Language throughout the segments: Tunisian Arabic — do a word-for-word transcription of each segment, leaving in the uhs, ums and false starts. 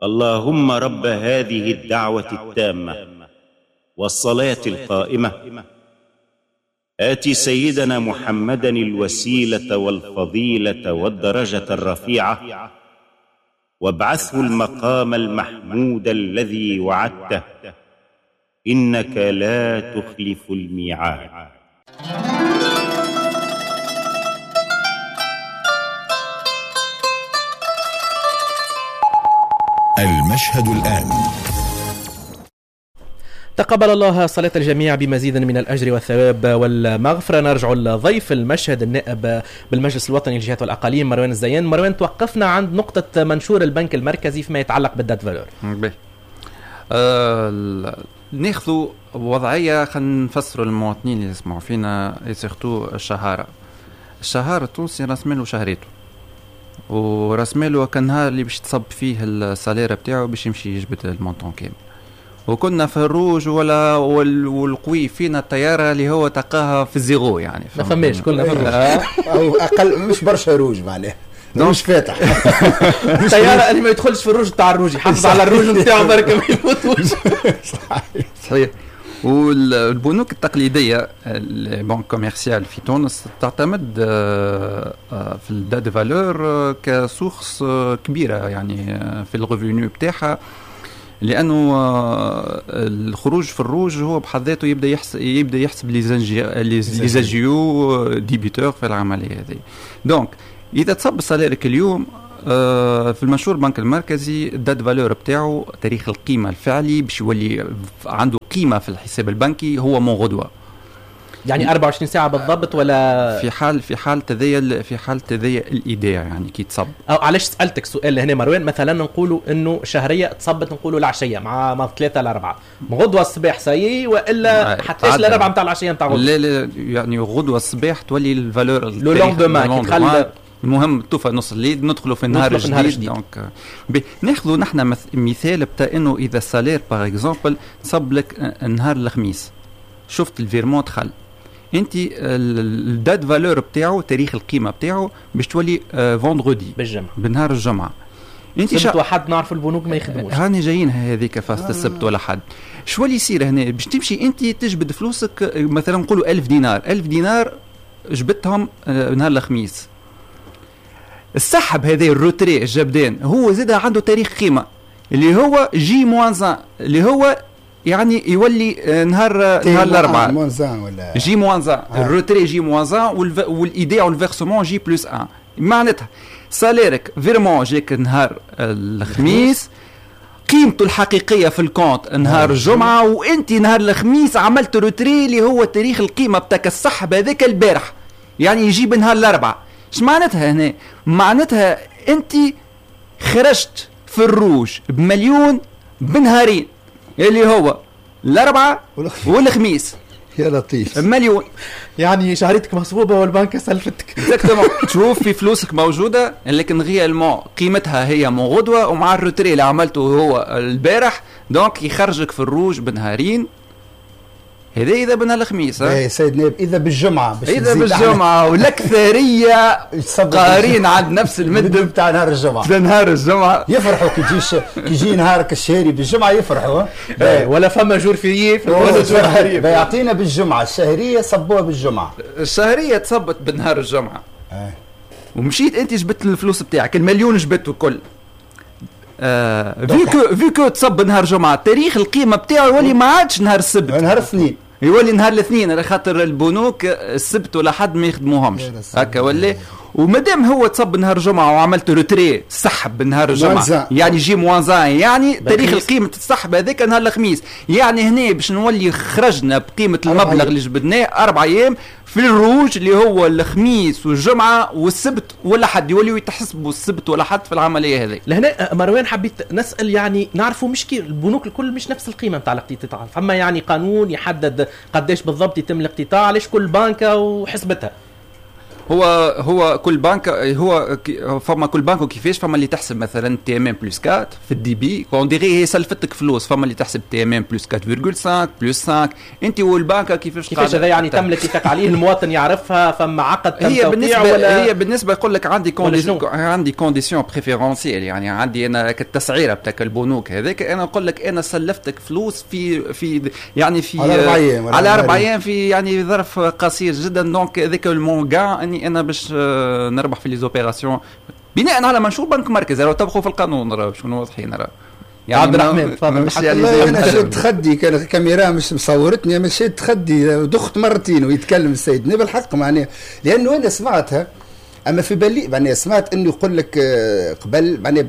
اللهم رب هذه الدعوة التامة والصلاة القائمة، آتِ سيدنا محمدا الوسيلة والفضيلة والدرجة الرفيعة، وابعثه المقام المحمود الذي وعدته، إنك لا تخلف الميعاد. المشهد الآن. تقبل الله صلاة الجميع بمزيد من الأجر والثواب والمغفرة. نرجع لضيف المشهد النائب بالمجلس الوطني للجهات والأقاليم مروان الزيان. مروان، توقفنا عند نقطة منشور البنك المركزي فيما يتعلق بال date valeur. أه ناخذ وضعية خلينا نفسروا للمواطنين اللي يسمعوا فينا، surtout الشهارة. الشهارة التونسي راس ماله شهريته، وراس ماله كان نهار اللي باش تصب فيه ال salaire بتاعه باش يمشي يجبد ال montant كامل. وكنا في الروج ولا والقوي فينا الطيارة اللي هو تلقاها في ال zéro، يعني ما فماش، كلنا في الروج او اقل، مش برشا روج معناها مش فاتح. الطيارة اللي ما يدخلش في الروج تاع الروج يحافظ على الروج نتاعو برك ما يموتوش. صحيح صحيح. والبنوك التقليدية ال banques commerciales في تونس تعتمد في ال date valeur ك source كبيرة يعني في ال revenu بتاعها، لانه الخروج في الروج هو بحد ذاته يبدا يحسب يبدا يحسب les agios débiteurs في العملية هذه. donc اذا تصب salaire ك اليوم في المنشور البنك المركزي ال date valeur بتاعه تاريخ القيمة الفعلي باش يولي عنده قيمة في الحساب البنكي هو من غدوه، يعني أربعة وعشرين ساعة بالضبط ولا في حال في حال تذيل في حال تذيل الايداع يعني كي تصب. او علاش سالتك سؤال هنا مروان، مثلا نقولوا انه شهرية تصبت نقولوا العشية مع ما ثلاثة لأربعة، غدوه الصباح سايي والا حتى لأربعة نتاع العشية نتاع غدوه؟ لا لا، يعني غدوه الصباح تولي ال valeur le lendemain كي المهم توفى نص الليل ندخلوا في النهار الجديد. donc ناخذوا نحن مثال بتاع انه اذا ال salaire par exemple صب لك نهار الخميس، شفت ال virement دخل، انت ال date valeur بتاعه تاريخ القيمة بتاعه باش تولي vendredi بالجمعة، بنهار الجمعة. انت سبت وحد نعرف البنوك ما يخدموش، هاني جايين هذيك فاست السبت ولا حد. شو اللي يصير هنا؟ باش تمشي انت تجبد فلوسك مثلا نقولوا ألف دينار، ألف دينار جبدتهم نهار الخميس، السحب هذا ال retrait الجبدان هو زاد عنده تاريخ قيمة اللي هو J moins un، اللي هو يعني يولي نهار نهار الاربعاء moins un ولا J moins un، ال retrait J moins un والايداع وال versement J plus un. معناتها salaire ك virement جاك نهار الخميس، قيمته الحقيقية في ال compte نهار الجمعة، وانت نهار الخميس عملت retrait اللي هو تاريخ القيمة بتاعك السحب هذاك البارح، يعني يجيب نهار الاربعاء. اش معناتها هنا؟ معناتها انت خرجت في الروج بمليون بنهارين اللي هو الاربعاء والخميس. يا لطيف، مليون يعني شهريتك مصبوبه والبنك سلفتك. exactement، تشوف في فلوسك موجودة لكن réellement قيمتها هي من غدوه، ومع ال retrait اللي عملته هو البارح donc يخرجك في الروج بنهارين. هذا اذا بنا الخميس. ايه سيد نائب، اذا بالجمعة باش اذا بالجمعة والاكثريه قارين عند نفس المدة بتاع نهار الجمعة، نهار الجمعة يفرحوا كي تجيش كي يجي نهارك الشهري بالجمعة يفرحوا. ولا فما jour férié في الشهرية يعطينا بالجمعة الشهرية، صبوها بالجمعة، الشهرية تصبت بنهار الجمعة. اه. ومشيت انت جبت الفلوس بتاعك المليون جبته الكل. آه vu que vu que تصب نهار جمعه تاريخ القيمة بتاعه يولي ما عادش نهار السبت، نهار الاثنين يولي نهار الاثنين، على خاطر البنوك السبت ولا حد ما يخدموهمش هكا ولا. ومادام هو تصب نهار الجمعة وعملت retrait سحب نهار الجمعة يعني J moins un، يعني تاريخ القيمة السحب هذاك نهار الخميس، يعني هنا باش نولي خرجنا بقيمة المبلغ اللي جبدناه اربع ايام في الروج اللي هو الخميس والجمعة والسبت ولا حد، يوليو يتحسبوا السبت ولا حد في العملية هذه. لهنا مروان حبيت نسال، يعني نعرفوا مش كي البنوك الكل مش نفس القيمة نتاع الاقتطاع، فما يعني قانون يحدد قداش بالضبط يتم الاقتطاع، علاش كل بنكه وحسبتها؟ هو هو كل بنك هو فما كل بنك وكيفاش، فما اللي تحسب مثلا TMM plus أربعة في ال débit on dirait هي سلفتك فلوس، فما اللي تحسب TMM plus أربعة فاصلة خمسة plus خمسة، انت والبنك كيفاش كيفاش هذا يعني تم الاتفاق عليه، المواطن يعرفها، فما عقد تم هي توقيع بالنسبة ولا هي بالنسبة يقول لك عندي condition عندي condition préférentielle، يعني عندي انا التسعيره بتاع البنوك هذاك، انا نقول لك انا سلفتك فلوس في في يعني في على اربع ايام على اربع ايام في يعني ظرف قصير جدا، donc هذاك ال mon gain اني انا باش نربح في les opérations بناء على منشور بنك مركزي، راهو طبقوا في القانون، راه باش نكونوا واضحين، راه يعني عبد الرحمن تفضل. يعني انا شد خدي كان الكاميرا مش مصورتني، انا شد خدي دخت مرتين ويتكلم السيد نبي الحق معناها، لانه انا سمعتها اما في بالي معناها سمعت انه يقول لك قبل معناها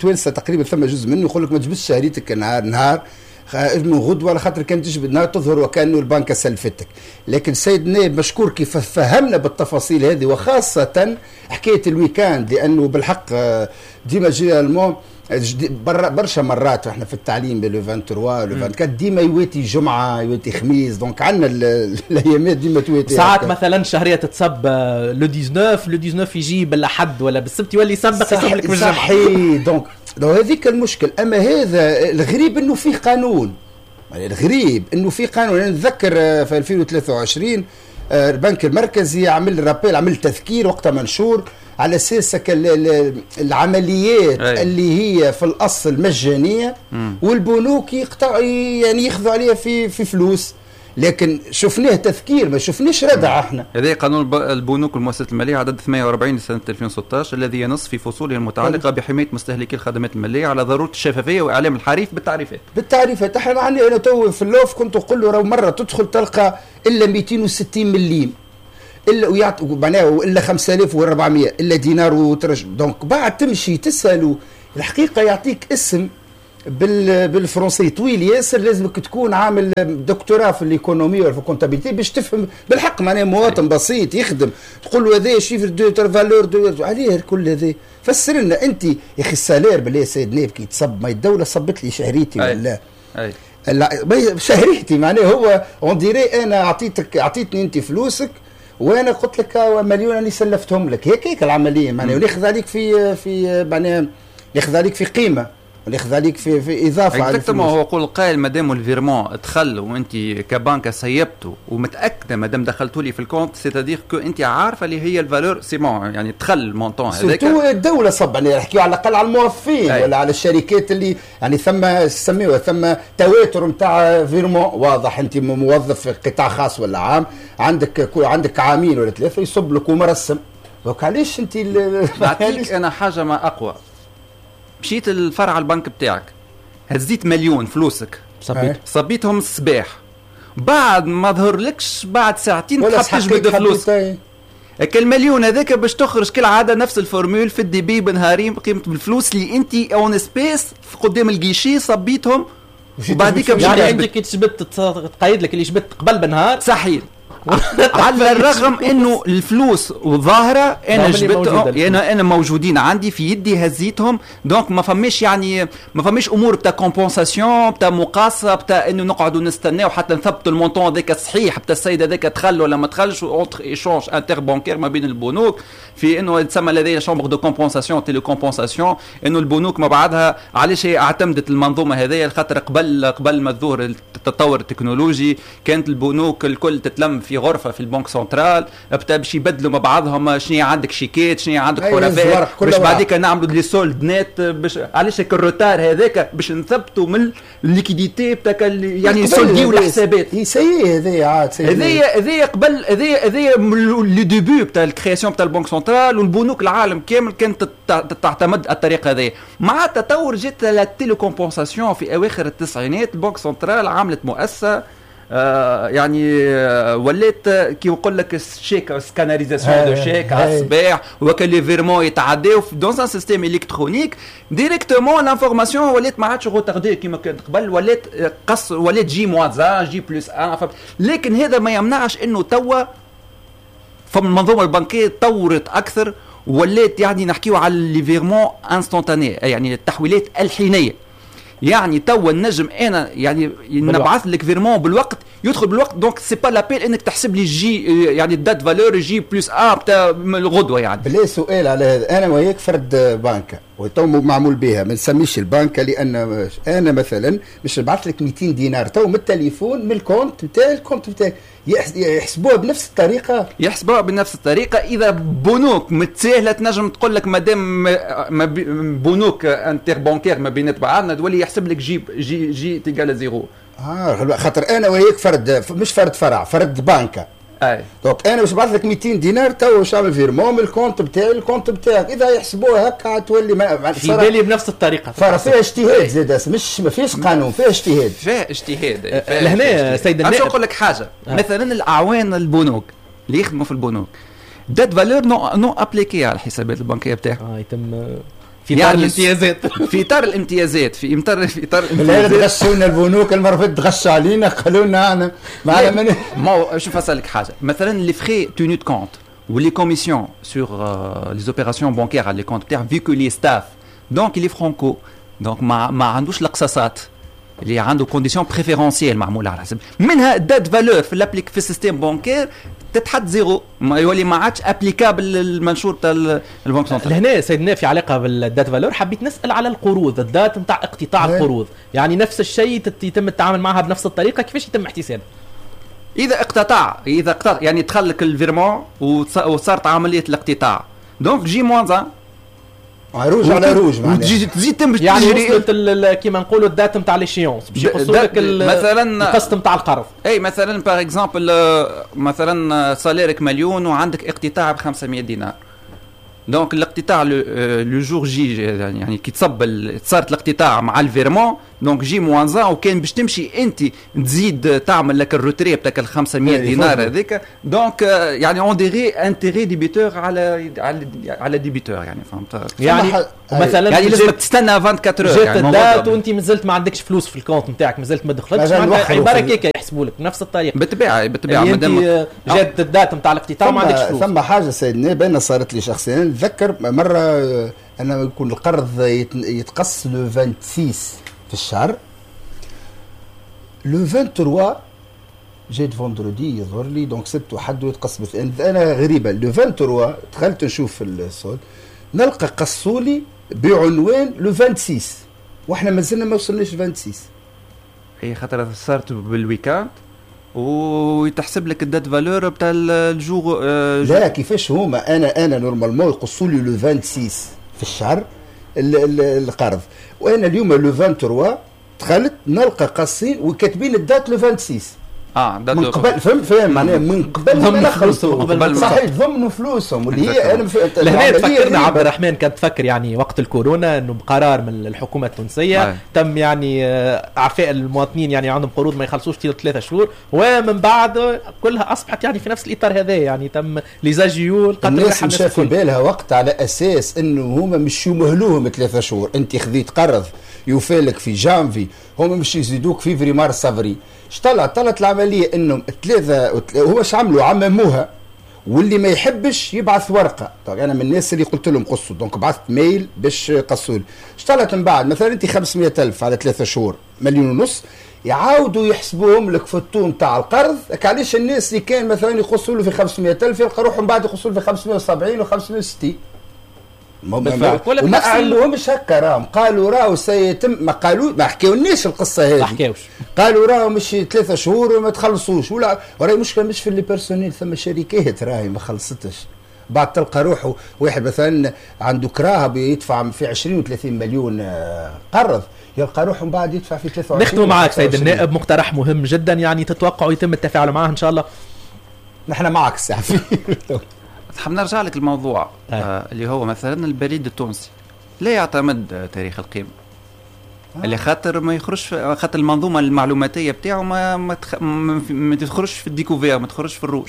توانسة تقريبا ثم جزء منه يقول لك ما تجبدش شهريتك نهار نهار من غدوه، على خاطر كان تجبد نهار تظهر وكانه البنك سلفتك. لكن السيد النائب مشكور كيف فهمنا بالتفاصيل هذه، وخاصة حكاية ال week-end، لانه بالحق ديما généralement برشا مرات احنا في التعليم le ثلاثة وعشرين le أربعة وعشرين ديما يواتي جمعه يواتي خميس، donc عندنا الايامات ديما تواتي. ساعات مثلا شهرية تتصب le تسعطاش le تسعطاش يجي بالاحد ولا بالسبت يولي يسبق يصب لك بالجمعة. صحيح، donc donc هذيك المشكل. اما هذا الغريب انه فيه قانون، يعني الغريب انه فيه قانون. انا نتذكر في ألفين وثلاثة وعشرين البنك المركزي عمل rappel، عمل تذكير وقتها منشور على اساس العمليات أي. اللي هي في الاصل مجانية م. والبنوك يقطع يعني ياخذوا عليها في في فلوس، لكن شفناه تذكير ما شفناش ردع. احنا هذا قانون البنوك والمؤسسات المالية عدد ثمانية وأربعين لسنه ألفين وستة عشر الذي ينص في فصوله المتعلقة بحمايه مستهلكي الخدمات المالية على ضرورة الشفافية واعلام الحريف بالتعريفات. بالتعريفات احنا عندي انا تو في اللوف كنت نقول له راه مرة تدخل تلقى الا مئتين وستين مليم الا ويعطي معناها الا خمسة آلاف وأربعمية الا دينار وترج، donc بعد تمشي تساله الحقيقة يعطيك اسم بال بالفرنسي طويل ياسر، لازمك تكون عامل دكتوراه في l'économie ولا في ال comptabilité باش تفهم بالحق. معناها مواطن بسيط يخدم تقول له هذا chiffre de valeur de عليه كل هذا، فسر لنا انت يا اخي ال salaire بالله سيد نائب كي تصب ما الدولة صبت لي شهريتي ولا أي. شهريتي معناها هو on dirait انا اعطيتك اعطيتني انت فلوسك وانا قلت لك مليون انا سلفتهم لك، هيك هيك العملية معناها، وناخذ عليك في في معناها ناخذ عليك في قيمة وناخذ عليك في في اضافه على exactement. هو يقول القائل مادام ال virement دخل وانت كبنكه سيبته ومتاكده مادام دخلتوا لي في ال compte، c'est-à-dire que انت عارفه اللي هي ال valeur c'est bon، يعني دخل ال montant هذاك. surtout الدولة صب يعني نحكيو على الاقل على الموظفين ولا على الشركات اللي يعني ثم سميوها ثم تواتر نتاع virement واضح. انت موظف في قطاع خاص ولا عام عندك عندك عامين ولا ثلاثة يصب لك ومرسم، donc علاش انت نعطيك انا حاجة ما اقوى. مشيت الفرع البنك بتاعك هزيت مليون فلوسك صبيت صبيتهم الصباح، بعد ما ظهر لكش بعد ساعتين تحب تجبد فلوس المليون هذاك باش تخرج كالعادة نفس ال formule في ال débit بنهارين بقيمة الفلوس اللي انت en espèces قدام ال guichet صبيتهم، وبعديك يعني عندك كي تجبد تقيد لك اللي جبدت قبل بنهار صحيح. على الرغم انه الفلوس وظاهره انا جبتهم انا انا موجودين عندي في يدي هزيتهم، donc ما فماش يعني ما فماش امور بتاع compensation بتاع مقاصه بتاع انه نقعدوا نستناو حتى نثبتوا ال montant هذاك الصحيح بتاع السيد هذاك دخل ولا ما دخلش، entre échange interbancaire ما بين البنوك في انه تسمى لدينا chambre de compensation télécompensation، انه البنوك ما بعدها. علاش هي اعتمدت المنظومة هذه؟ خاطر قبل قبل ما تظهر التطور التكنولوجي كانت البنوك الكل تتلم في غرفة في ال banque centrale باش يبدلوا مع بعضهم شنو عندك شيكات شنو عندك حرفاء باش بعديك نعملوا les soldes nets باش علاش هيك ال retard هذاك باش نثبتوا من ال liquidité بتاع يعني سولديو الحسابات. هي سي هذايا عاد هذايا هذايا قبل هذايا هذايا les débuts بتاع ال création بتاع ال banque centrale والبنوك العالم كامل كانت تعتمد الطريقة هذه. مع التطور جات la télécompensation في اواخر التسعينات، ال banque centrale عملت مؤسسة آه يعني آه ولات كي يقول لك ال chèque scannerisation de chèques على الصباح وكان les virements يتعداو dans un système électronique directement l'information ولات ما عادش retardée كيما كانت قبل، ولات قص ولات J moins un J plus un. لكن هذا ما يمنعش انه توا فما المنظومة البنكية تطورت اكثر ولات يعني نحكيو على les virements instantanés يعني التحويلات الحينيه. يعني توا النجم انا يعني نبعث لك virement بالوقت، يدخل بالوقت، donc c'est pas la peine انك تحسب لي J يعني date valeur J plus un تاع الغدوه. يعني بلا سؤال على هذا، انا وياك فرد بنكه وتو معمول بها، ما نسميش البنكه، لان انا مثلا باش نبعث لك مئتين دينار تو من التليفون من ال compte نتاعي ال compte نتاعي، يحسبوها بنفس الطريقة؟ يحسبوها بنفس الطريقة. اذا بنوك متساهله تنجم تقول لك مادام بنوك interbancaires ما بينات بعضنا تولي يحسب لك J J J égale zéro. اه خاطر انا وياك فرد، مش فرد فرع، فرد بنكه. اي donc انا باش نبعث لك مئتين دينار تو باش نعمل virement من ال compte بتاعي ال compte بتاعك، اذا يحسبوها هكا تولي ما في بالي بنفس الطريقة. فيها اجتهاد زاد، مش ما فيش قانون، فيها اجتهاد، فيها اجتهاد. لهنا سيد النائب نقول لك حاجة، آه. مثلا الاعوان البنوك اللي يخدموا في البنوك date valeur non non appliquée على الحسابات البنكية بتاعهم. اه يتم في اطار يعني الامتيازات، في اطار الامتيازات، في اطار في اطار الامتيازات. تغشونا البنوك المرة فاتت، تغشوا علينا، قالوا لنا انا ما ما شوف اسالك حاجة، مثلا les frais tenue de compte و les commissions sur les opérations bancaires على les comptes بتاعهم، vu que les staff donc il est franco، donc ما ما عندوش القصاصات اللي عنده conditions préférentielles معمولة على حسب منها date valeur في l'applique في ال système bancaire تتحط zéro، ما يولي ما عادش applicable المنشور تاع ال banque centrale. لهنا سيدنا في علاقة بال date valeur حبيت نسال على القروض، ال date نتاع اقتطاع القروض، يعني نفس الشيء يتم التعامل معها بنفس الطريقة، كيفاش يتم احتسابها؟ اذا اقتطع، اذا اقتطع يعني دخل لك ال virement وصارت عملية الاقتطاع، donc J moins un rouge على روج معناها، وتجي تزيد تم يعني وصلت كيما نقولوا ال date نتاع l'échéance باش يقصوا لك مثلا القسط نتاع القرض. اي مثلا par exemple مثلا salaire ك مليون وعندك اقتطاع ب خمسمية دينار، donc الاقتطاع le jour J يعني كي تصب صارت الاقتطاع مع ال virement donc J moins un، وكان باش تمشي انت تزيد تعمل لك ال retrait بتاع ال خمسمية دينار هذيك، donc يعني on dirait intérêt débiteur على على على débiteur يعني فهمت؟ يعني مثلا يعني لازمك تستنى أربعة وعشرين heures، يعني جات ال date وانت مازلت ما عندكش فلوس في ال compte نتاعك، مازلت ما دخلتش، عبارة كيكة يحسبوا لك بنفس الطريقة. بالطبيعة بالطبيعة مادام جات ال date نتاع الاقتطاع ما عندكش فلوس. ثم حاجة سيدنا بان صارت لي شخصيا، نتذكر مرة انا يكون القرض يتقص le ستة وعشرين في الشهر، le ثلاثة وعشرين جيت vendredi يظهر لي، donc سبت وحد ويتقص. انا غريبة le ثلاثة وعشرين دخلت نشوف ال solde نلقى قصولي بعنوان le ستة وعشرين واحنا مازلنا ما وصلناش ستة وعشرين. هي خاطر صارت بال week-end ويتحسب لك ال date valeur بتاع ال jour. لا كيفاش هما انا انا normalement يقصوا لي le ستة وعشرين في الشهر القرض، وانا اليوم le ثلاثة وعشرين دخلت نلقى قاصين وكاتبين ال date le ستة وعشرين. اه من قبل فهم فهم معناها من قبل ما خلصوا صحيح ضمنوا فلوسهم واللي هي انا لهنا تفكرنا عبد الرحمن كان تفكر يعني وقت الكورونا انه بقرار من الحكومة التونسية آه. تم يعني اعفاء المواطنين يعني عندهم قروض ما يخلصوش ثلاثة شهور، ومن بعد كلها اصبحت يعني في نفس الاطار هذا، يعني تم les agios. الناس مشى في بالها وقت على اساس انه هما مش يمهلوهم ثلاثة شهور، انت خذيت قرض يوفالك في جانفي هما مش يزيدوك فيفري مارس افريل. طلع طلعت العملية انهم ثلاثة هو اش عملوا عمموها، واللي ما يحبش يبعث ورقة. طيب انا من الناس اللي قلت لهم قصوا، donc بعثت mail باش قصوا لي. اش طلعت من بعد مثلا انت خمسمية ألف على ثلاثة شهور مليون ونص يعاودوا يحسبوهم لك في ال taux تاع القرض. علاش الناس اللي كان مثلا يقصوا له في خمسمية ألف يلقى روحهم بعد يقصوا له في خمسمية وسبعين وخمسمية وستين. وما اعلنوهمش هكا، راهم قالوا راهو سيتم، ما قالوا ما حكاولناش القصة هذه، ما حكاوش، قالوا راهو مش ثلاثة شهور وما تخلصوش. ولا وراهي مشكلة مش في les personnels، ثم شركات راهي ما خلصتش. بعد تلقى روحه واحد مثلا عنده كراهة بيدفع في عشرين وثلاثين مليون قرض، يلقى روحه من بعد يدفع في ثلاثة وعشرين. نختم معك سيد النائب، مقترح مهم جدا يعني تتوقعوا يتم التفاعل معه ان شاء الله؟ نحن معك الساعة. حاب نرجع لك الموضوع آه اللي هو مثلا البريد التونسي لا يعتمد تاريخ القيمة آه. اللي خاطر ما يخرجش، خاطر المنظومة المعلوماتيه بتاعه ما ما, تخ... ما تخرجش في ال découvert، ما تخرجش في الروج.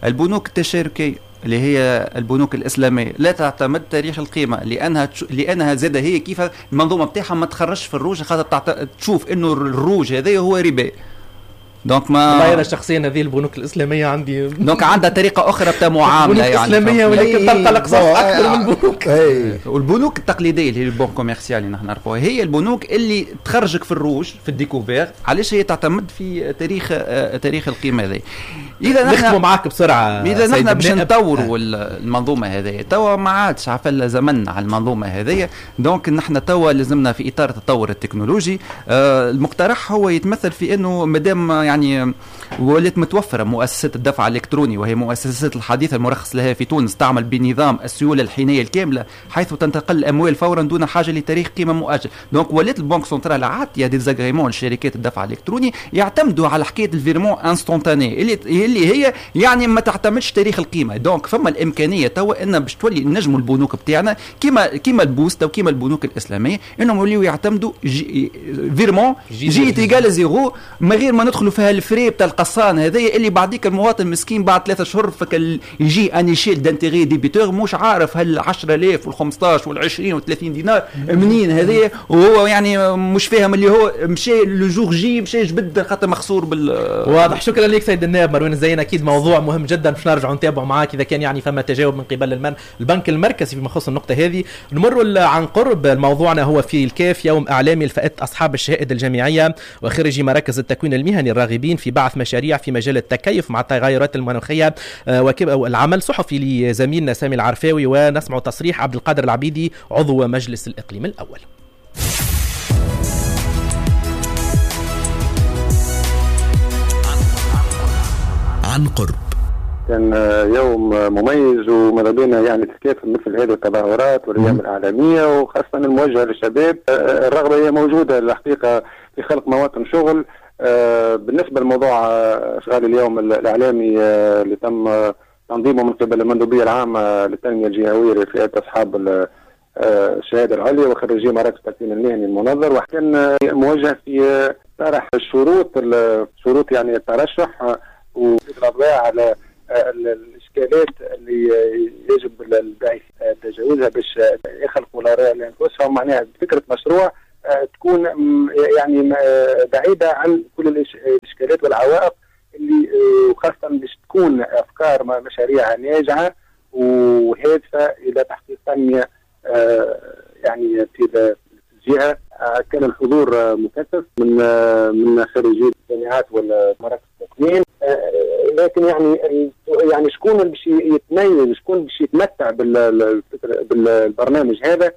البنوك التشاركيه اللي هي البنوك الاسلامية لا تعتمد تاريخ القيمة، لانها تش... لانها زاده هي كيف المنظومة بتاعها ما تخرجش في الروج، خاطر تعت... تشوف انه الروج هذا هو ربا. donc ما والله انا شخصيا هذه البنوك الاسلامية عندي donc عندها طريقه اخرى بتاع معاملة يعني الاسلامية ولكن تلقى الاقساط اكثر من البنوك. والبنوك التقليدية اللي هي ال banques commerciales اللي نحن نعرفوها هي البنوك اللي تخرجك في الروج في ال découvert. علاش هي تعتمد في تاريخ تاريخ القيمة هذه. اذا نحن نختموا معاك بسرعة، اذا نحن باش نطوروا المنظومة هذه توا ما عادش عفل زمن على المنظومة هذه. donc نحن توا لازمنا في اطار التطور التكنولوجي. آه المقترح هو يتمثل في انه مادام يعني ولات متوفرة مؤسسات الدفع الالكتروني وهي مؤسسات الحديثة المرخص لها في تونس تعمل بنظام السيولة الحينيه الكاملة حيث تنتقل الاموال فورا دون حاجة لتاريخ قيمة مؤجل. donc ولات ال banque centrale عاطيه des agréments لشركات الدفع الالكتروني يعتمدوا على حكاية ال virement instantané اللي اللي هي يعني ما تعتمدش تاريخ القيمة. donc فما الامكانية توا ان باش تولي نجموا البنوك بتاعنا كيما كيما البوسته وكيما البنوك الاسلامية انهم يوليو يعتمدوا J virement J égal zéro من غير ما ندخلوا فيها ال frais بتاع القصان هذايا اللي بعديك المواطن مسكين بعد ثلاثة اشهر فك يجي une échelle d'intérêts débiteur مش عارف هل عشرة آلاف وال خمسطاش وال عشرين وال ثلاثين دينار منين هذايا، وهو يعني مش فاهم اللي هو مشى le jour J مشى جبد خاطر مخسور بال. واضح. شكرا لك سيد النائب مروان الزين، اكيد موضوع مهم جدا باش نرجعوا نتابعوا معاك اذا كان يعني فما تجاوب من قبل المن البنك المركزي فيما يخص النقطة هذه. نمر عن قرب موضوعنا هو في الكاف، يوم اعلامي لفئة اصحاب الشهائد الجامعية وخريجي مراكز التكوين المهني الراغبين في بعث مشاريع في مجال التكيف مع التغيرات المناخية والعمل صحفي لزميلنا سامي العرفاوي، ونسمع تصريح عبد القادر العبيدي عضو مجلس الاقليم الاول. عن قرب كان يوم مميز وماذا بينا يعني تكافل مثل هذه التظاهرات والايام الاعلامية وخاصة الموجهة للشباب. الرغبة هي موجودة الحقيقة في خلق مواطن شغل. بالنسبة لموضوع اشغال اليوم الاعلامي اللي تم تنظيمه من قبل المندوبيه العامة للتنمية الجهوية لفئات اصحاب الشهادة العليا وخريجي مراكز التكوين المهني المنظر، وكان موجه في طرح الشروط شروط يعني الترشح والاضواء على الاشكالات اللي يجب الباعث تجاوزها باش يخلقوا لانفسهم معناها فكرة مشروع تكون يعني بعيدة عن كل الاشكالات والعوائق اللي وخاصة باش تكون افكار مشاريع ناجعة وهادفه الى تحقيق تنمية يعني في الجهة. كان الحضور مكثف من من خريجي الجامعات والمراكز التكوين، لكن يعني يعني شكون اللي باش يتميز، شكون باش يتمتع بالبرنامج هذا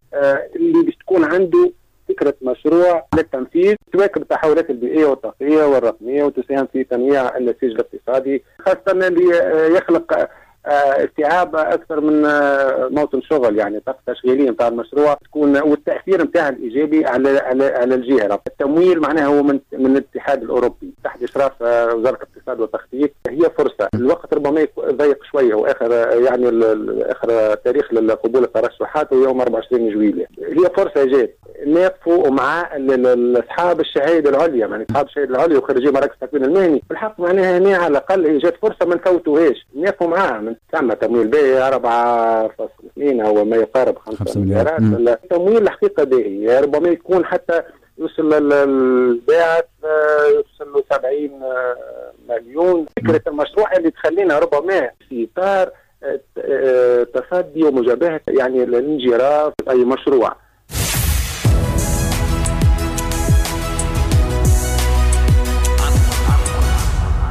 اللي باش تكون عنده فكرة مشروع للتنفيذ تواكب التحولات البيئية والطاقية والرقمية وتساهم في تنويع النسيج الاقتصادي، خاصة اللي يخلق استيعاب اكثر من موطن شغل، يعني طاقة تشغيلية نتاع المشروع تكون والتاثير نتاعها الايجابي على على على الجهة. التمويل معناها هو من من الاتحاد الاوروبي تحت اشراف وزارة الاقتصاد والتخطيط. هي فرصة، الوقت ربما ضيق شوية واخر يعني اخر تاريخ لقبول الترشحات هو يوم أربعة وعشرين جويلية. هي فرصة جات نقفوا مع اصحاب الشهادة العليا، يعني اصحاب الشهادة العليا وخريجي مراكز التكوين المهني بالحق معناها هنا على الاقل هي جات فرصة ما نفوتوهاش، نقفوا معاها. تم تمويل باهي أربعة فاصلة اثنين او ما يقارب خمسة مليارات. التمويل الحقيقة باهي، ربما يكون حتى يوصل للباعث يوصل له سبعين مليون. فكرة المشروع اللي تخلينا ربما في اطار تصدي ومجابهه يعني الانجراف في اي مشروع.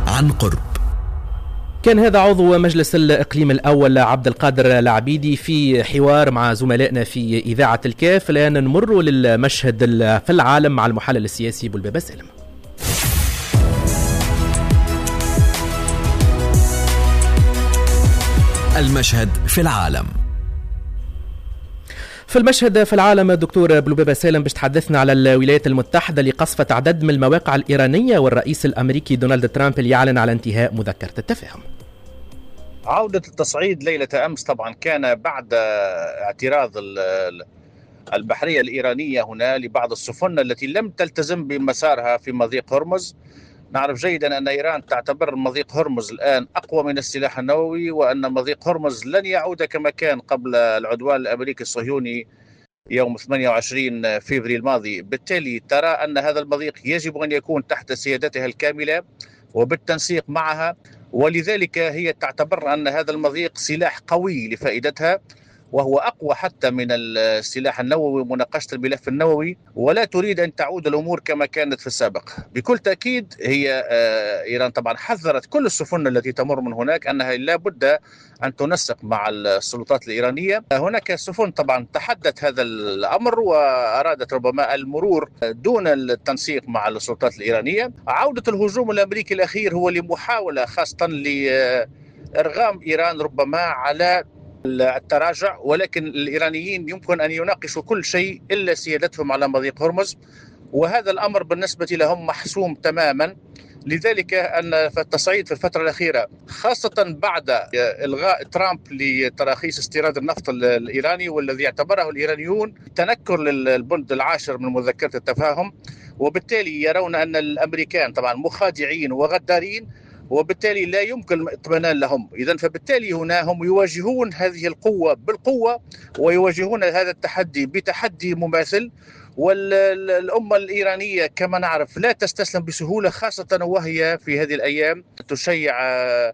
عن قرب كان هذا عضو مجلس الإقليم الأول عبد القادر العبيدي في حوار مع زملائنا في إذاعة الكاف. الآن نمر للمشهد في العالم مع المحلل السياسي بولبابة سالم. المشهد في العالم. في المشهد في العالم دكتور بلوبابة سالم باش تحدثنا على الولايات المتحدة اللي قصفت عدد من المواقع الإيرانية والرئيس الأمريكي دونالد ترامب اللي يعلن على انتهاء مذكرة التفاهم. عودة التصعيد ليلة أمس طبعا كان بعد اعتراض البحرية الإيرانية هنا لبعض السفن التي لم تلتزم بمسارها في مضيق هرمز. نعرف جيدا أن إيران تعتبر مضيق هرمز الآن أقوى من السلاح النووي، وأن مضيق هرمز لن يعود كما كان قبل العدوان الأمريكي الصهيوني يوم ثمانية وعشرين فبراير الماضي. بالتالي ترى أن هذا المضيق يجب أن يكون تحت سيادتها الكاملة، وبالتنسيق معها، ولذلك هي تعتبر أن هذا المضيق سلاح قوي لفائدتها، وهو أقوى حتى من السلاح النووي ومناقشة الملف النووي، ولا تريد أن تعود الأمور كما كانت في السابق. بكل تأكيد هي إيران طبعا حذرت كل السفن التي تمر من هناك أنها لا بد أن تنسق مع السلطات الإيرانية. هناك سفن طبعا تحدت هذا الأمر وأرادت ربما المرور دون التنسيق مع السلطات الإيرانية. عودة الهجوم الأمريكي الأخير هو لمحاولة خاصة لإرغام إيران ربما على التراجع، ولكن الإيرانيين يمكن أن يناقشوا كل شيء إلا سيادتهم على مضيق هرمز، وهذا الأمر بالنسبة لهم محسوم تماما. لذلك أن التصعيد في الفترة الأخيرة خاصة بعد إلغاء ترامب لتراخيص استيراد النفط الإيراني، والذي اعتبره الإيرانيون تنكر للبند العاشر من مذكرة التفاهم، وبالتالي يرون أن الأمريكان طبعا مخادعين وغدارين، وبالتالي لا يمكن الاطمئنان لهم. إذن فبالتالي هنا هم يواجهون هذه القوة بالقوة، ويواجهون هذا التحدي بتحدي مماثل. والأمة الإيرانية كما نعرف لا تستسلم بسهولة، خاصة وهي في هذه الأيام تشيع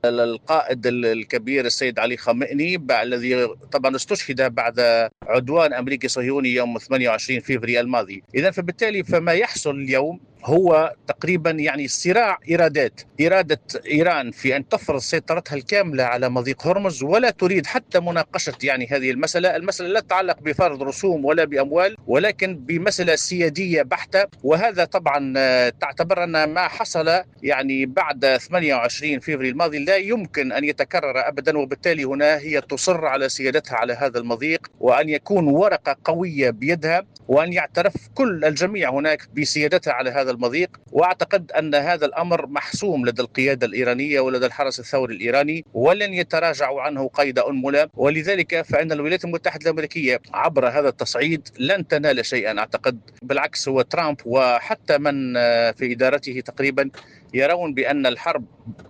القائد الكبير السيد علي خامنئي الذي طبعا استشهد بعد عدوان أمريكي صهيوني يوم ثمانية وعشرين فبراير الماضي. إذن فبالتالي فما يحصل اليوم هو تقريبا يعني صراع إرادات، إرادة إيران في أن تفرض سيطرتها الكاملة على مضيق هرمز، ولا تريد حتى مناقشة يعني هذه المسألة. المسألة لا تتعلق بفرض رسوم ولا بأموال، ولكن بمسألة سيادية بحتة. وهذا طبعا تعتبر أن ما حصل يعني بعد ثمانية وعشرين فبراير الماضي لا يمكن أن يتكرر أبدا، وبالتالي هنا هي تصر على سيادتها على هذا المضيق، وأن يكون ورقة قوية بيدها، وأن يعترف كل الجميع هناك بسيادتها على هذا المضيق. وأعتقد أن هذا الأمر محسوم لدى القيادة الإيرانية ولدى الحرس الثوري الإيراني، ولن يتراجعوا عنه قيد أنملة. ولذلك فإن الولايات المتحدة الأمريكية عبر هذا التصعيد لن تنال شيئا، أعتقد. بالعكس هو ترامب وحتى من في إدارته تقريبا يرون بأن الحرب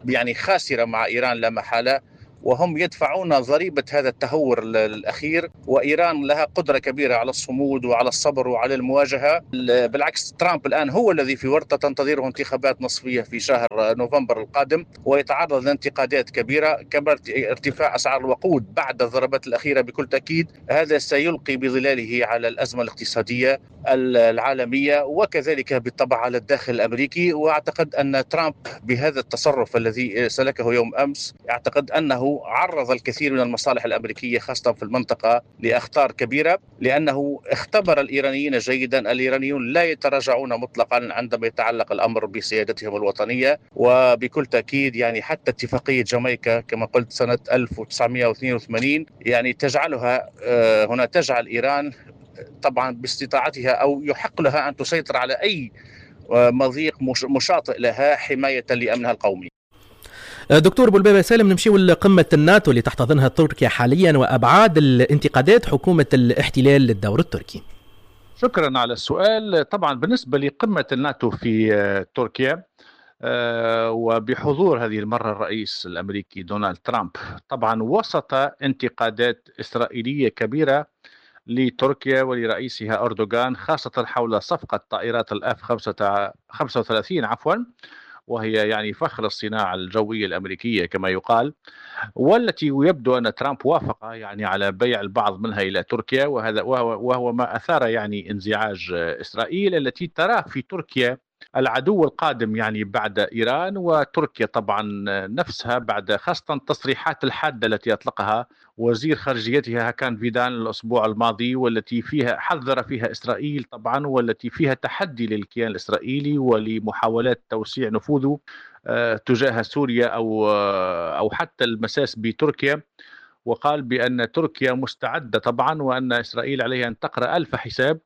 يعني خاسرة مع إيران لا محالة، وهم يدفعون ضريبة هذا التهور الأخير. وإيران لها قدرة كبيرة على الصمود وعلى الصبر وعلى المواجهة. بالعكس ترامب الآن هو الذي في ورطة تنتظره انتخابات نصفية في شهر نوفمبر القادم، ويتعرض لانتقادات كبيرة كما ارتفاع أسعار الوقود بعد الضربات الأخيرة. بكل تأكيد هذا سيلقي بظلاله على الأزمة الاقتصادية العالمية، وكذلك بالطبع على الداخل الأمريكي. وأعتقد أن ترامب بهذا التصرف الذي سلكه يوم أمس، أعتقد أنه عرض الكثير من المصالح الأمريكية خاصة في المنطقة لأخطار كبيرة، لأنه اختبر الإيرانيين جيدا. الإيرانيون لا يتراجعون مطلقا عندما يتعلق الأمر بسيادتهم الوطنية. وبكل تأكيد يعني حتى اتفاقية جامايكا كما قلت سنة ألف وتسعمائة واثنين وثمانين يعني تجعلها هنا تجعل إيران طبعا باستطاعتها أو يحق لها أن تسيطر على أي مضيق مشاطئ لها حماية لأمنها القومي. دكتور بولبابة سالم، نمشيو لقمة الناتو اللي تحتضنها تركيا حاليا وأبعاد الانتقادات حكومة الاحتلال للدور التركي. شكرا على السؤال. طبعا بالنسبة لقمة الناتو في تركيا وبحضور هذه المرة الرئيس الأمريكي دونالد ترامب، طبعا وسط انتقادات إسرائيلية كبيرة لتركيا ولرئيسها أردوغان، خاصة حول صفقة طائرات الأف خمسة وثلاثين عفوا، وهي يعني فخر الصناعة الجوية الأمريكية كما يقال، والتي يبدو أن ترامب وافق يعني على بيع البعض منها إلى تركيا، وهذا وهو, وهو ما أثار يعني انزعاج إسرائيل التي ترى في تركيا العدو القادم يعني بعد إيران. وتركيا طبعا نفسها بعد خاصة التصريحات الحادة التي أطلقها وزير خارجيتها هاكان فيدان الأسبوع الماضي، والتي فيها حذر فيها إسرائيل طبعا، والتي فيها تحدي للكيان الإسرائيلي ولمحاولات توسيع نفوذه تجاه سوريا أو أو حتى المساس بتركيا. وقال بأن تركيا مستعدة طبعا، وأن إسرائيل عليها أن تقرأ ألف حساب.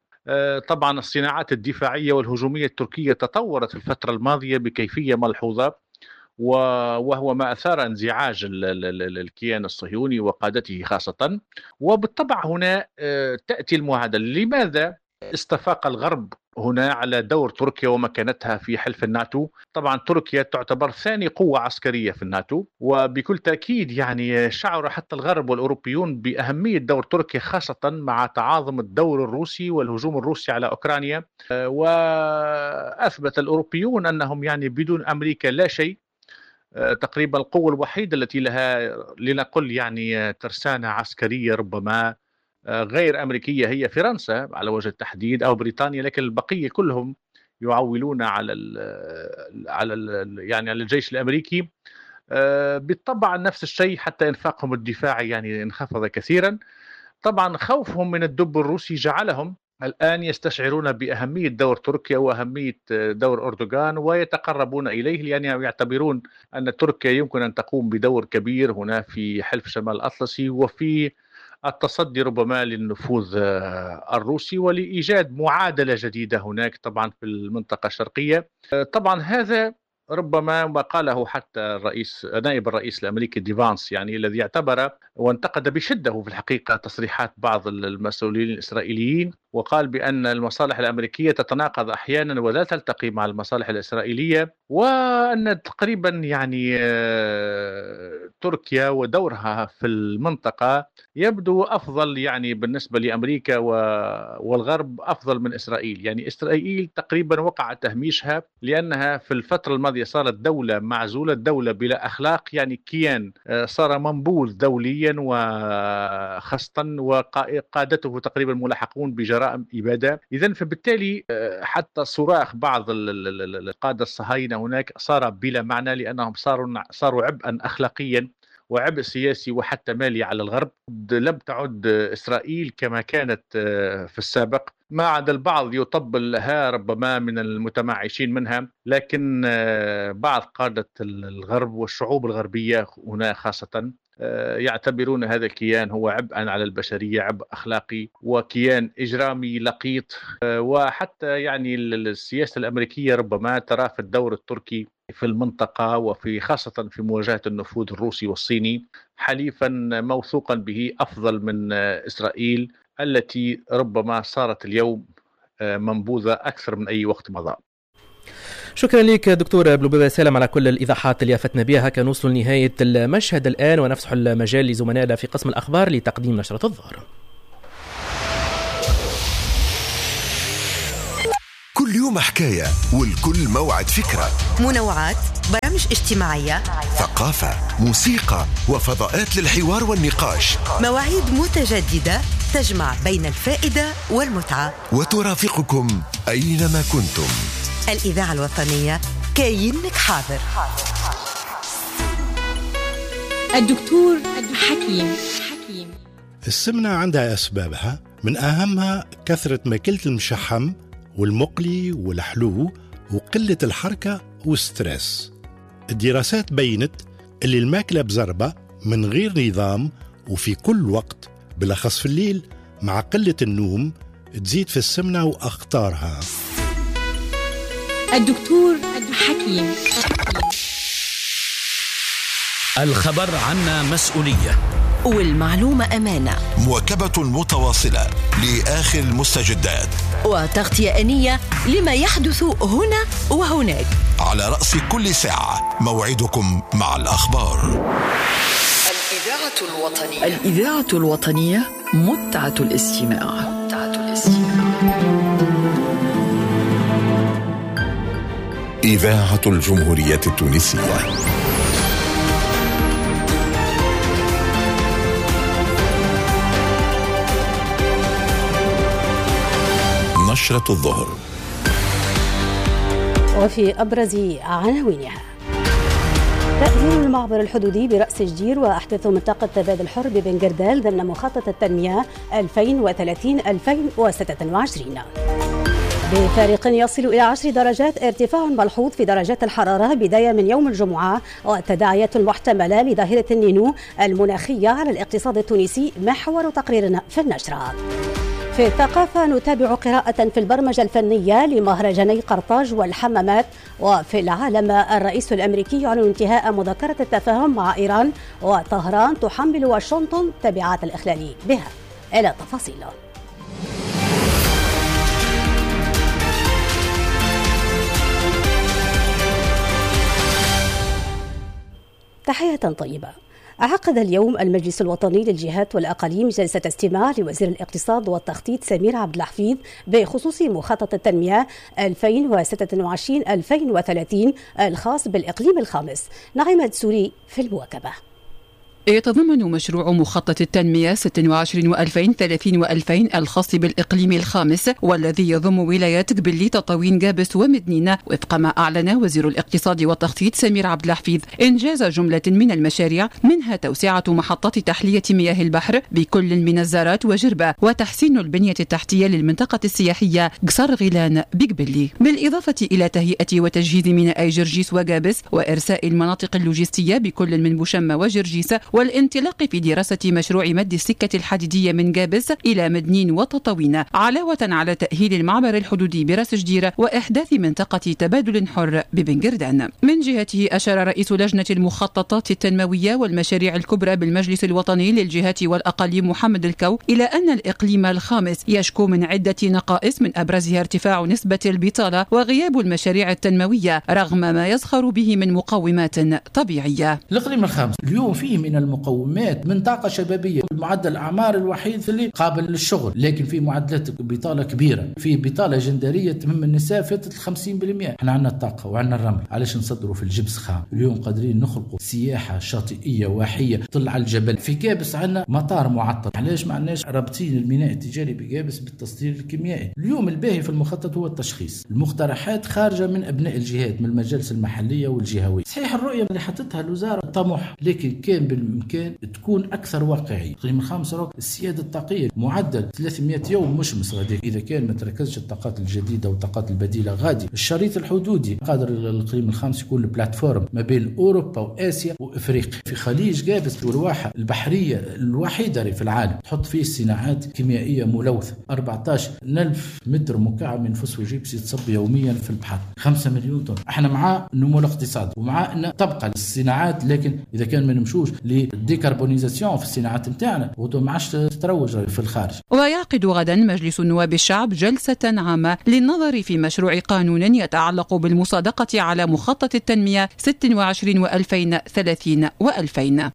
طبعا الصناعات الدفاعية والهجومية التركية تطورت في الفترة الماضية بكيفية ملحوظة، وهو ما أثار انزعاج الكيان الصهيوني وقادته خاصة. وبالطبع هنا تأتي المعادلة، لماذا استفاق الغرب هنا على دور تركيا ومكانتها في حلف الناتو؟ طبعا تركيا تعتبر ثاني قوة عسكرية في الناتو، وبكل تأكيد يعني شعر حتى الغرب والأوروبيون بأهمية دور تركيا، خاصة مع تعاظم الدور الروسي والهجوم الروسي على أوكرانيا. وأثبت الأوروبيون أنهم يعني بدون أمريكا لا شيء، تقريبا القوة الوحيدة التي لها لنقل يعني ترسانة عسكرية ربما غير أمريكية هي فرنسا على وجه التحديد أو بريطانيا، لكن البقية كلهم يعولون على ال على ال يعني على الجيش الأمريكي. بالطبع نفس الشيء حتى إنفاقهم الدفاعي يعني انخفض كثيرا. طبعا خوفهم من الدب الروسي جعلهم الآن يستشعرون بأهمية دور تركيا وأهمية دور أردوغان ويتقربون إليه، لأن يعتبرون أن تركيا يمكن أن تقوم بدور كبير هنا في حلف شمال الأطلسي وفي التصدي ربما للنفوذ الروسي ولإيجاد معادلة جديدة هناك طبعا في المنطقة الشرقية. طبعا هذا ربما ما قاله حتى الرئيس نائب الرئيس الأمريكي ديفانس، يعني الذي اعتبر وانتقد بشدة في الحقيقة تصريحات بعض المسؤولين الإسرائيليين، وقال بأن المصالح الأمريكية تتناقض أحيانا ولا تلتقي مع المصالح الإسرائيلية، وأن تقريبا يعني تركيا ودورها في المنطقة يبدو أفضل يعني بالنسبة لأمريكا والغرب أفضل من إسرائيل. يعني إسرائيل تقريبا وقع تهميشها لأنها في الفترة الماضية صارت دولة معزولة، دولة بلا أخلاق، يعني كيان صار منبوذ دوليا وخاصة وقادته تقريبا ملاحقون بجرائم إبادة. إذن فبالتالي حتى صراخ بعض القادة الصهاينة هناك صار بلا معنى، لأنهم صاروا صاروا عبئا أخلاقيا وعبء سياسي وحتى مالي على الغرب. لم تعد إسرائيل كما كانت في السابق، ما عدا البعض يطبل لها ربما من المتمعشين منها، لكن بعض قادة الغرب والشعوب الغربية هنا خاصة يعتبرون هذا الكيان هو عبئا على البشرية، عبء أخلاقي وكيان إجرامي لقيط. وحتى يعني السياسة الأمريكية ربما ترى في الدور التركي في المنطقة وفي خاصة في مواجهة النفوذ الروسي والصيني حليفا موثوقا به أفضل من إسرائيل التي ربما صارت اليوم منبوذة أكثر من أي وقت مضى. شكرا لك دكتور بلبابة سالم على كل الإيضاحات اللي أفتنا بها. هكا نوصل لنهاية المشهد الآن ونفتح المجال لزملائنا في قسم الأخبار لتقديم نشرة الظهر. كل يوم حكاية والكل موعد فكرة، منوعات، برامج اجتماعية، ثقافة، موسيقى، وفضاءات للحوار والنقاش، مواعيد متجددة تجمع بين الفائدة والمتعة وترافقكم أينما كنتم. الإذاعة الوطنية كاينك حاضر. الدكتور حكيم. السمنة عندها أسبابها، من أهمها كثرة ماكلة المشحم والمقلي والحلو وقلة الحركة وال stress. الدراسات بينت اللي الماكلة بزربة من غير نظام وفي كل وقت بالأخص في الليل مع قلة النوم تزيد في السمنة وأخطارها. الدكتور حكيم. الخبر عنا مسؤولية والمعلومة أمانة، مواكبة متواصلة لآخر المستجدات وتغطية آنية لما يحدث هنا وهناك. على رأس كل ساعة موعدكم مع الأخبار. الإذاعة الوطنية، الإذاعة الوطنية متعة الاستماع، متعة الاستماع. إذاعة الجمهورية التونسية. نشرة الظهر. وفي أبرز عناوينها: تأهيل المعبر الحدودي برأس جدير وأحداث منطقة تبادل الحر ببن قردال ضمن مخطط التنمية ألفين وثلاثين ألفين وستة وعشرين. بفارق يصل إلى عشر درجات ارتفاع ملحوظ في درجات الحرارة بداية من يوم الجمعة، وتداعيات محتملة لظاهرة النينو المناخية على الاقتصاد التونسي، محور تقريرنا في النشرة. في الثقافة نتابع قراءة في البرمجة الفنية لمهرجاني قرطاج والحمامات. وفي العالم الرئيس الأمريكي يعلن انتهاء مذكرة التفاهم مع إيران، وطهران تحمل واشنطن تبعات الإخلال بها. إلى تفاصيل. تحية طيبة. عقد اليوم المجلس الوطني للجهات والأقاليم جلسة استماع لوزير الاقتصاد والتخطيط سمير عبد الحفيظ بخصوص مخطط التنمية ألفين وستة وعشرين ألفين وثلاثين الخاص بالإقليم الخامس. نعيمة سوري في المواكبة. يتضمن مشروع مخطط التنمية ستة وعشرين وألفين ثلاثين وألفين الخاص بالإقليم الخامس والذي يضم ولايات قبلي تطاوين قابس ومدنينة، وفق ما أعلن وزير الاقتصاد والتخطيط سمير عبد الحفيظ إنجاز جملة من المشاريع، منها توسعة محطات تحلية مياه البحر بكل من الزارات وجربة، وتحسين البنية التحتية للمنطقة السياحية قصر غيلان بقبلي، بالإضافة إلى تهيئة وتجهيز ميناء جرجيس وقابس وإرساء المناطق اللوجستية بكل من بوشمة وجرجيس، والانطلاق في دراسة مشروع مد السكة الحديدية من قابس إلى مدنين وتطاوين، علاوة على تأهيل المعبر الحدودي براس جديرة وإحداث منطقة تبادل حر ببنقردان. من جهته أشار رئيس لجنة المخططات التنموية والمشاريع الكبرى بالمجلس الوطني للجهات والأقاليم محمد الكو إلى أن الإقليم الخامس يشكو من عدة نقائص، من أبرزها ارتفاع نسبة البطالة وغياب المشاريع التنموية رغم ما يزخر به من مقومات طبيعية. الإقليم الخامس اليوم فيه من المقومات من طاقة شبابية، معدل الأعمار الوحيد اللي قابل للشغل، لكن في معدلات بطالة كبيرة، في بطالة جندرية تهم النساء فاتت خمسين بالمئة. احنا عندنا الطاقة وعندنا الرمل، علاش نصدروا في الجبس خام؟ اليوم قادرين نخلقوا سياحة شاطئية واحية طلع الجبل. في قابس عندنا مطار معطل، علاش ما عندناش رابطين الميناء التجاري بقابس بالتصدير الكيميائي؟ اليوم الباهي في المخطط هو التشخيص، المقترحات خارجة من أبناء الجهات من المجالس المحلية والجهوية. صحيح الرؤية اللي حطتها الوزارة طموح، لكن كان بالإمكان تكون أكثر واقعية. الإقليم الخامس السيادة الطاقية معدل ثلاثمئة يوم مشمس غادي، إذا كان ما تركزش الطاقات الجديدة والطاقات البديلة غادي. الشريط الحدودي قادر الإقليم الخامس يكون ال plateforme ما بين أوروبا وآسيا وإفريقيا. في خليج قابس والواحة البحرية الوحيدة في العالم تحط فيه صناعات كيميائية ملوثة، أربعة عشر ألف متر مكعب من فوسفوجيبس يتصب يوميا في البحر، خمسة مليون طن. احنا مع النمو الاقتصادي ومع أن تبقى الصناعات، لكن إذا كان ما نمشوش لل décarbonisation في الصناعات نتاعنا وما عادش تتروج في الخارج. ويعقد غدا مجلس نواب الشعب جلسة عامة للنظر في مشروع قانون يتعلق بالمصادقة على مخطط التنمية ستة وعشرين وألفين ثلاثين وألفين.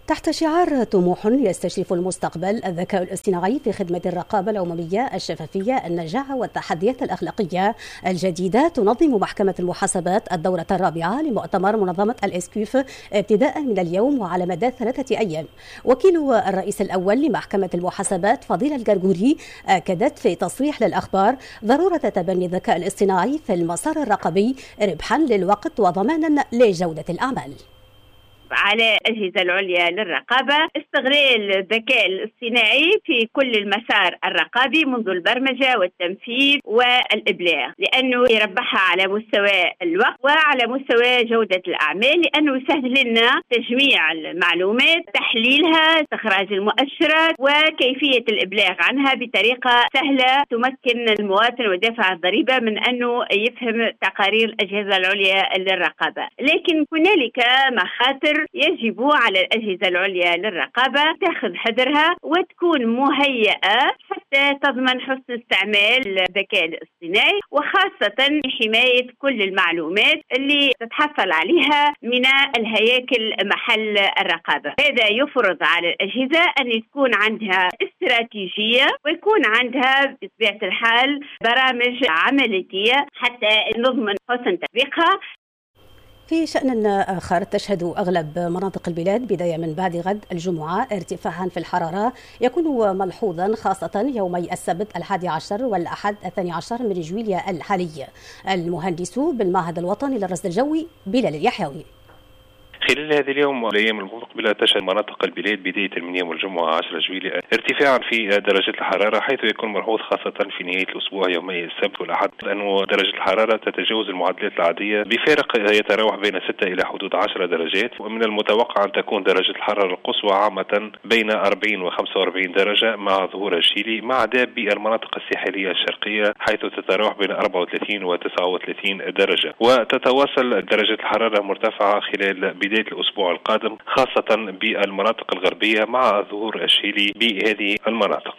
تحت شعار طموح يستشرف المستقبل، الذكاء الاصطناعي في خدمة الرقابة العمومية، الشفافية، النجاعة والتحديات الأخلاقية الجديدة، تنظم محكمة المحاسبات الدورة الرابعة لمؤتمر منظمة الإسكيف ابتداء من اليوم وعلى مدى ثلاثة أيام. وكيل الرئيس الأول لمحكمة المحاسبات فضيلة القرقوري أكدت في تصريح للأخبار ضرورة تبني الذكاء الاصطناعي في المسار الرقابي ربحا للوقت وضمانا لجودة الأعمال. على الأجهزة العليا للرقابة استغلال الذكاء الاصطناعي في كل المسار الرقابي منذ البرمجة والتنفيذ والإبلاغ، لأنه يربحها على مستوى الوقت وعلى مستوى جودة الأعمال، لأنه يسهل لنا تجميع المعلومات، تحليلها، استخراج المؤشرات، وكيفية الإبلاغ عنها بطريقة سهلة تمكن المواطن ودافع الضريبة من أنه يفهم تقارير الأجهزة العليا للرقابة. لكن هنالك مخاطر يجب على الأجهزة العليا للرقابة تأخذ حذرها وتكون مهيئة حتى تضمن حسن استعمال الذكاء الاصطناعي، وخاصة حماية كل المعلومات اللي تتحصل عليها من الهياكل محل الرقابة. هذا يفرض على الأجهزة أن تكون عندها استراتيجية ويكون عندها بطبيعة الحال برامج عملية حتى نضمن حسن تطبيقها. في شأن آخر، تشهد أغلب مناطق البلاد بداية من بعد غد الجمعة ارتفاعا في الحرارة يكون ملحوظا خاصة يومي السبت الحادي عشر والأحد الثاني عشر من جويلية الحالي. المهندس بالمعهد الوطني للرصد الجوي بلال اليحيوي: خلال هذا اليوم والايام المقبلة تشهد مناطق البلاد بداية من يوم الجمعة عشرة جويلية ارتفاعا في درجه الحرارة، حيث يكون ملحوظ خاصة في نهاية الاسبوع يومي السبت والاحد أن درجه الحرارة تتجاوز المعدلات العادية بفارق يتراوح بين ستة الى حدود عشرة درجات، ومن المتوقع ان تكون درجه الحرارة القصوى عامة بين أربعين وخمسة وأربعين درجه مع ظهور الشيلي، ما عدا بالمناطق الساحلية الشرقية حيث تتراوح بين أربعة وثلاثين وتسعة وثلاثين درجه، وتتواصل درجه الحرارة مرتفعة خلال بداية الأسبوع القادم خاصة بالمناطق الغربية مع ظهور الشيلي بهذه المناطق.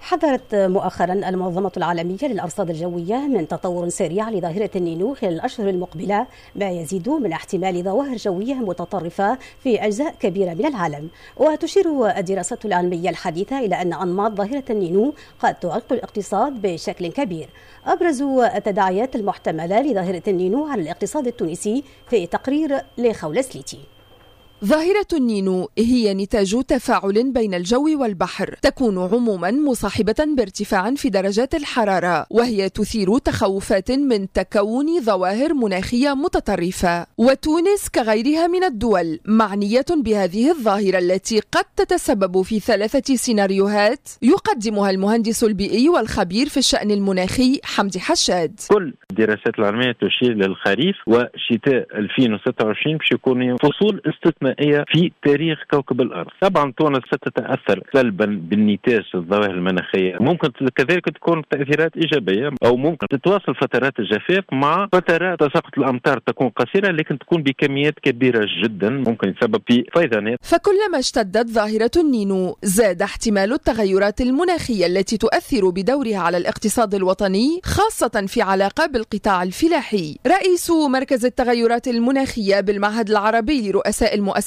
حذرت مؤخرا المنظمة العالمية للأرصاد الجوية من تطور سريع لظاهرة النينو خلال الأشهر المقبلة، ما يزيد من احتمال ظواهر جوية متطرفة في أجزاء كبيرة من العالم. وتشير الدراسات العلمية الحديثة إلى أن أنماط ظاهرة النينو قد تعيق الاقتصاد بشكل كبير. أبرز التداعيات المحتملة لظاهرة النينو على الاقتصاد التونسي في تقرير لخولة سليتي. ظاهرة النينو هي نتاج تفاعل بين الجو والبحر، تكون عموما مصاحبة بارتفاع في درجات الحرارة، وهي تثير تخوفات من تكون ظواهر مناخية متطرفة. وتونس كغيرها من الدول معنية بهذه الظاهرة التي قد تتسبب في ثلاثة سيناريوهات يقدمها المهندس البيئي والخبير في الشأن المناخي حمدي حشاد. كل الدراسات العلمية تشير للخريف وشتاء ألفين وستة وعشرين باش يكون فصول استثنائية في تاريخ كوكب الأرض. طبعا تونس ستتأثر سلبا بالنتاج الظواهر المناخية، ممكن كذلك تكون تأثيرات إيجابية، أو ممكن تتواصل فترات الجفاف مع فترات تساقط الأمطار تكون قصيرة لكن تكون بكميات كبيرة جدا، ممكن يتسبب في فيضانات. فكلما اشتدت ظاهرة النينو زاد احتمال التغيرات المناخية التي تؤثر بدورها على الاقتصاد الوطني، خاصة في علاقة بالقطاع الفلاحي. رئيس مركز التغيرات المناخية بالمعهد العربي لرؤساء المؤسسات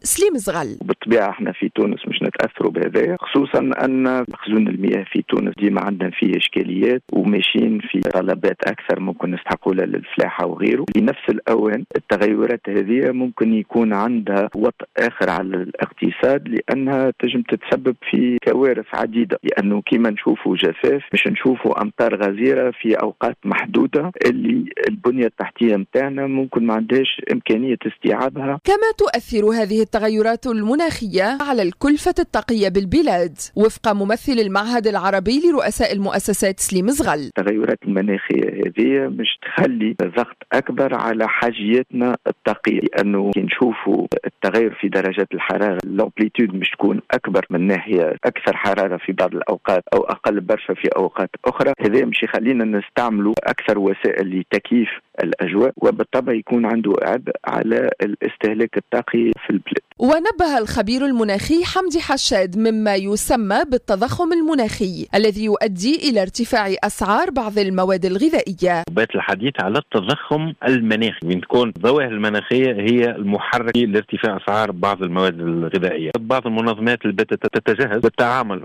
سليم زغل: بالطبيعة احنا في تونس مش نتأثروا بهذا، خصوصا أن مخزون المياه في تونس ديما عندنا فيه إشكاليات وماشيين في طلبات أكثر ممكن نستحقوا لها للفلاحة وغيره. لنفس الأوان التغيرات هذه ممكن يكون عندها وطء آخر على الاقتصاد، لأنها تجم تتسبب في كوارث عديدة، لأنه كما نشوفوا جفاف مش نشوفوا أمطار غزيرة في أوقات محدودة اللي البنية التحتية متاعنا ممكن ما عندهاش إمكانية استيعابها. كما تؤثر هذه التغيرات المناخية على الكلفة الطاقية بالبلاد، وفق ممثل المعهد العربي لرؤساء المؤسسات سليم زغل. التغيرات المناخية هذه مش تخلي ضغط أكبر على حاجياتنا الطاقية، لأنه كي نشوفوا التغير في درجات الحرارة l'amplitude مش تكون أكبر من ناحية أكثر حرارة في بعض الأوقات أو أقل برشا في أوقات أخرى، هذا مش يخلينا نستعملوا أكثر وسائل لتكييف الأجواء، وبالطبع يكون عنده عبء على الاستهلاك الطاقي في البلاد. ونبه الخبير المناخي حمدي حشاد مما يسمى بالتضخم المناخي الذي يؤدي إلى ارتفاع أسعار بعض المواد الغذائية. بات الحديث على التضخم المناخي، من تكون الظواهر المناخية هي المحرك لارتفاع أسعار بعض المواد الغذائية. بعض المنظمات اللي باتت تتجهز بالتعامل